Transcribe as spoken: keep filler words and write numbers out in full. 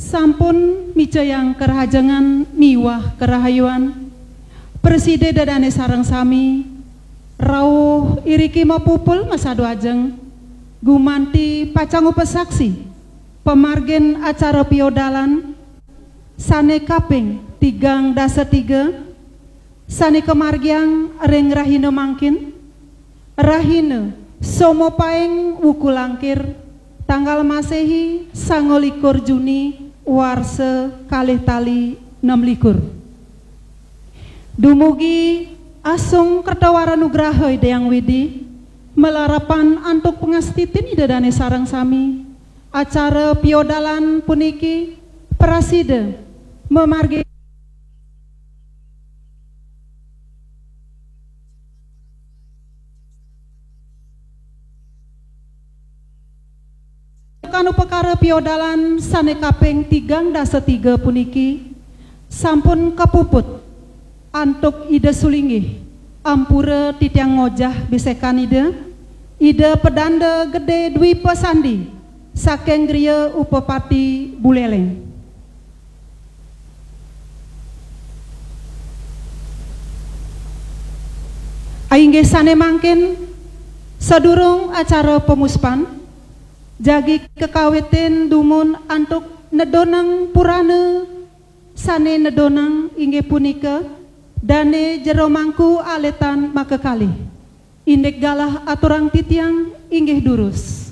Sampun micayang karahajengan miwah karahayuan. Prasida Ida dane sareng sami rauh iriki mapupul masadu ajeng gumanti pacang upasaksi pamargin acara piodalan sane kaping tigang dasa tiga sane kamargiang ring rahina mangkin, rahina Soma Paing Wuku Langkir, tanggal Masehi sanga likur Juni, warsa kalih tali nem likur. Dumugi asung kertawara nugraha Ida Hyang Widi, malarapan antuk pangastitin Ida dane sareng sami, acara piodalan puniki prasida mamargi Kan upakara piodalan sane kaping tigang dasa tiga puniki sampun kapuput antuk Ida sulinggih, ampura titiang ngojah bisekan Ida, Ida Pedanda Gede Dwipa Sandi saking griya Upapati Buleleng. Inggih sane mangkin, sadurung acara pamuspan, jagi kakawitin dumun antuk nedonang purana sane nedonang inggih punika Dane Jero Mangku Alitan makakalih. Indik galah aturang titiang inggih durus.